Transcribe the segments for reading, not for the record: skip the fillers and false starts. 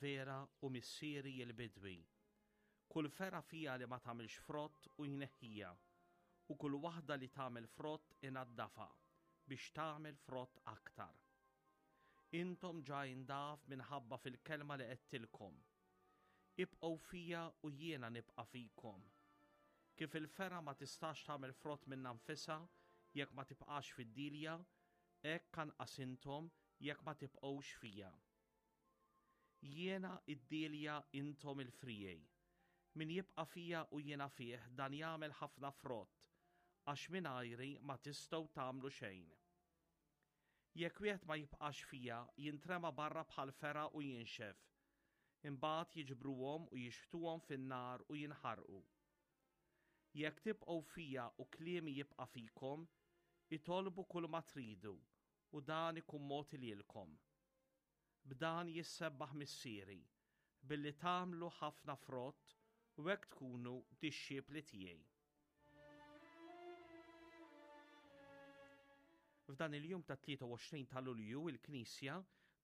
Vera u Missieri il-bidwi. Kull fergħa fija li ma tagħmilx frott u jneħħija, u kull waħda li tagħmel frott inaddafha, biex tagħmel frott aktar. Intom ġa indaf minħabba fil-kelma li għedtilkom. Ibqgħu fija u jiena nibqa' fikom. Kif il-fergħa ma tistax tagħmel frott minnha nfisha jekk ma tibqax fid-dielja, hekk anqas intom jekk ma tibqgħux fija. Jiena id-dielja intom il-friegħi. Min jibqa' fija u jiena fih dan jagħmel ħafna frott, għax mingħajri ma tistgħu tagħmlu xejn. Jekk wieħed ma jibqax fija, jintrema barra bħal fergħa u jinxef. Imbagħad jiġbruhom u jixħtuhom fin-nar u jinħarqu. Jekk tibqgħu fija u kliemi jibqa' fikom, itolbu kull ma tridu u dan ikun mogħti lilkom. B'dan jissebbaħ Missieri, billi tagħmlu ħafna frott u hekk tkunu dixxipli tiegħi. F'dan il-jum ta' 23 ta' Lulju il-Knisja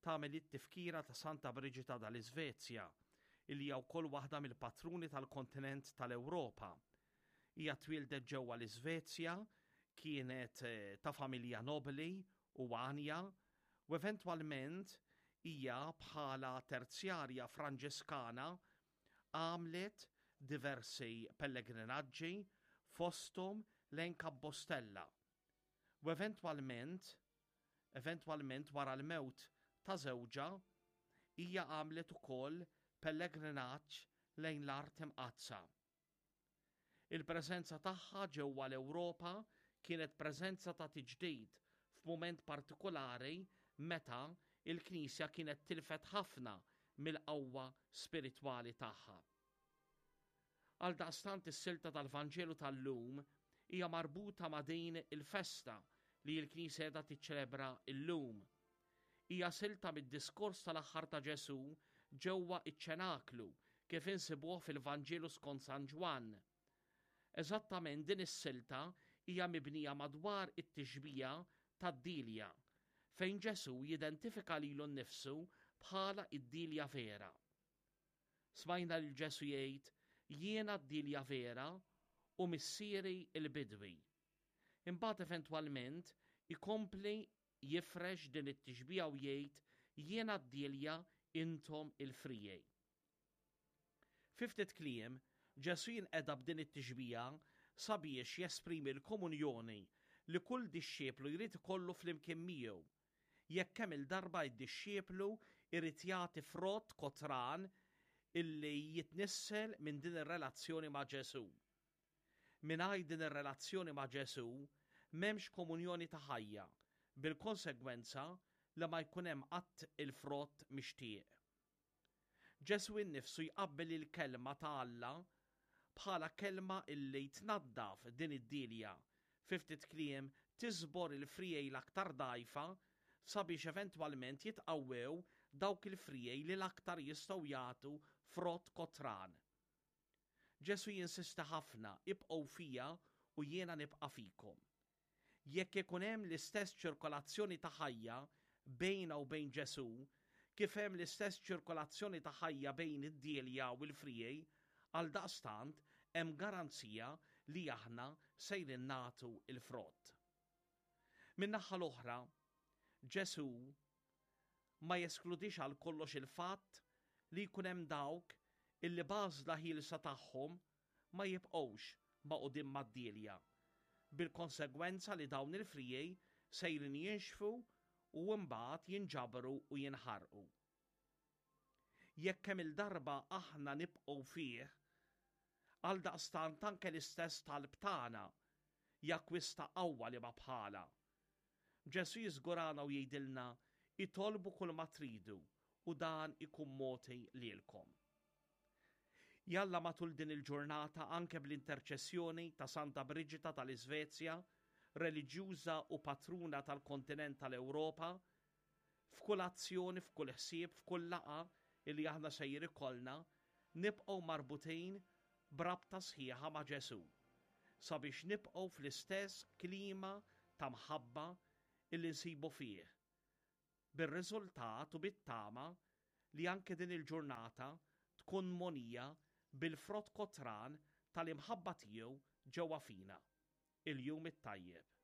tagħmel it-tifkira ta' Santa Briġita dal-Iżvezja, illi hija wkoll waħda mill-patruni tal-kontinent tal-Ewropa. Hija twieldet ġewwa l-Iżvezja, kienet eh, ta' familja nobli u għanja, u eventwalment hija bħala terzjarja Franġiskana għamlet diversi pellegrinaġġi fosthom lejn Kabbostella. U eventwalment, eventwalment wara l-mewt ta' żewġha, hija għamlet ukoll pellegrinaġġ lejn l-Art Imqaddsa. Il-preżenza tagħha ġewwa l-Ewropa kienet preżenza ta' tiġdid f'mument partikulari meta l-Knisja kienet tilfet ħafna mill-qawwa spiritwali tagħha. Għaldaqstant is-silta tal-Vanġelu tal-lum hija marbuta ma' din il-festa li l-Knisja qiegħda tiċċelebra llum. Hija silta mid-diskors tal-aħħar ta' Ġesù ġewwa ċ-ċenaklu kif insibuh fil-Vanġelu skont San Ġwann. Eżattament din is-silta hija mibnija madwar it-tixbija tad-dielja, fejn Ġesù jidentifika lilu nnifsu bħala d-dielja vera. Smajna lil Ġesù jgħid, Jiena d-dielja vera u Missieri l-bidwi. Imbagħad eventwalment ikompli jifrex din it-tixbiha u jgħid, Jiena d-dielja, intom il-friegħi. Fi ftit kliem, Ġesù jinqeda b'din it-tixbiha sabiex jesprimi l-komunjoni li kull dixxiplu jrid ikollu flimkien miegħu, jekk kemm-il darba d-dixxiplu jrid jagħti frott kotran illi jitnissel minn din ir-relazzjoni ma' Ġesù. Mingħajr din ir-relazzjoni ma' Ġesù, m'hemmx komunjoni ta' ħajja, bil-konsegwenza li ma jkun hemm qatt il-frott mixtieq. Ġesù innifsu jqabbel il-Kelma ta' Alla bħala kelma illi tnaddaf din id-dielja, fi ftit kliem tiżbor il-friegħi l-aktar dgħajfa sabiex eventwalment jitqawwew dawk il-friegħi li l-aktar jistgħu jagħtu frott kotran. Ġesù jinsisti ħafna, Ibqgħu fija u jiena nibqa' fikom. Jekk ikun hemm l-istess ċirkolazzjoni ta' ħajja bejna u bejn Ġesù, kif hemm l-istess ċirkolazzjoni ta' ħajja bejn id-dielja u l-friegħi, għaldaqstant hemm garanzija li aħna sejrin nagħtu l-frott. Min-naħa l-oħra, Ġesù ma jeskludix għal kollox il-fatt li jkun hemm dawk illi b'għażla ħielsa tagħhom ma jibqgħux magħqudin mad-dielja, bil-konsegwenza li dawn il-friegħi sejrin jinxfu u mbagħad jinġabru u jinħarqu. Jekk kemm-il darba aħna nibqgħu fih, għaldaqstant anke l-istess talb tagħna jakkwista qawwa li ma bħalha. Ġesù jiżgurana u jgħidilna, Itolbu kulma tridu u dan ikun mogħti lilkom. Jalla matul din il-ġurnata anke bl-interċessjoni ta' Santa Briġita tal-Iżvezja, reliġjuża u patruna tal-kontinent tal-Ewropa, f'kull azzjoni, f'kull ħsieb, f'kull laqgħa illi aħna sejjer ikollna, nibqgħu marbutin b'rabta sħiħa ma' Ġesù, sabiex nibqgħu fl-istess klima ta' mħabba illi nsibu fih, bir-riżultat u bit-tama. li anke din il-ġurnata tkun mogħnija bil-frott kotran tal-imħabba tiegħu ġewwa fina. Il-jum it-tajjeb.